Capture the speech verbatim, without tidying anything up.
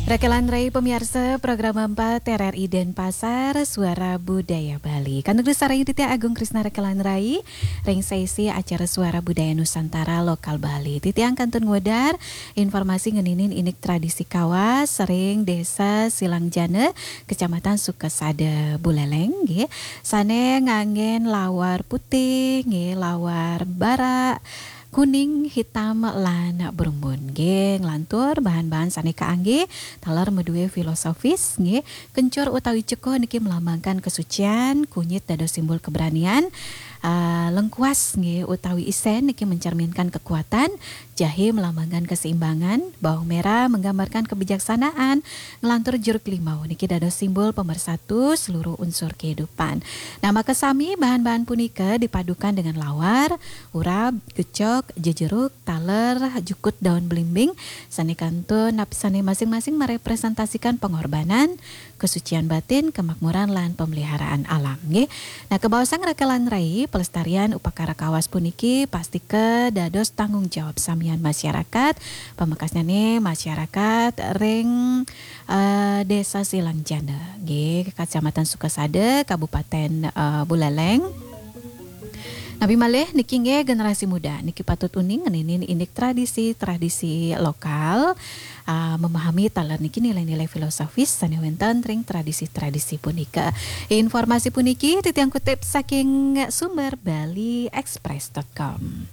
Rekelan Rai pemiarsa program empat R R I Denpasar, Suara Budaya Bali. Kantun sareng titiang Agung Krisna Rekelan Rai, ring sesi acara Suara Budaya Nusantara Lokal Bali. Titiang kantun ngwedar informasi ngeninin indik tradisi Kawas ring Desa Silangjana, Kecamatan Sukasada, Buleleng, nggih. Sane nganggen lawar putih, nggih, lawar bara, kuning, hitam, lan brumbun. Nggih, nglantur bahan-bahan sane kaanggé taler madue filosofis, nggih. Kencur utawi ceko niki melambangkan kesucian, kunyit dados simbol keberanian, ah, lengkuas, nggih, utawi isen niki mencerminkan kekuatan, jahe melambangkan keseimbangan, bawang merah menggambarkan kebijaksanaan, nglantur jeruk limau niki dados simbol pemersatu seluruh unsur kehidupan. Nah, maka sami bahan-bahan punika dipadukan dengan lawar, urab, gecok, jejeruk, taler, jukut daun belimbing, sane kantun nap-, sane masing-masing merepresentasikan pengorbanan, kesucian batin, kemakmuran, lan pemeliharaan alam, nggih. Nah, kabaosang Rekelan Rai, pelestarian upakara Kawas puniki pastika dados tanggung jawab samian masyarakat, pamekasnyane masyarakat ring, eh, Desa Silangjana, nggih, Kecamatan Sukasada, Kabupaten, eh, Buleleng. Napi malih niki nggih generasi muda niki patut uning ngeninin indik tradisi-tradisi lokal, ah, memahami taler niki nilai-nilai filosofis sane wenten ring tradisi-tradisi punika. Informasi puniki titiang kutip saking sumber bali express dot com.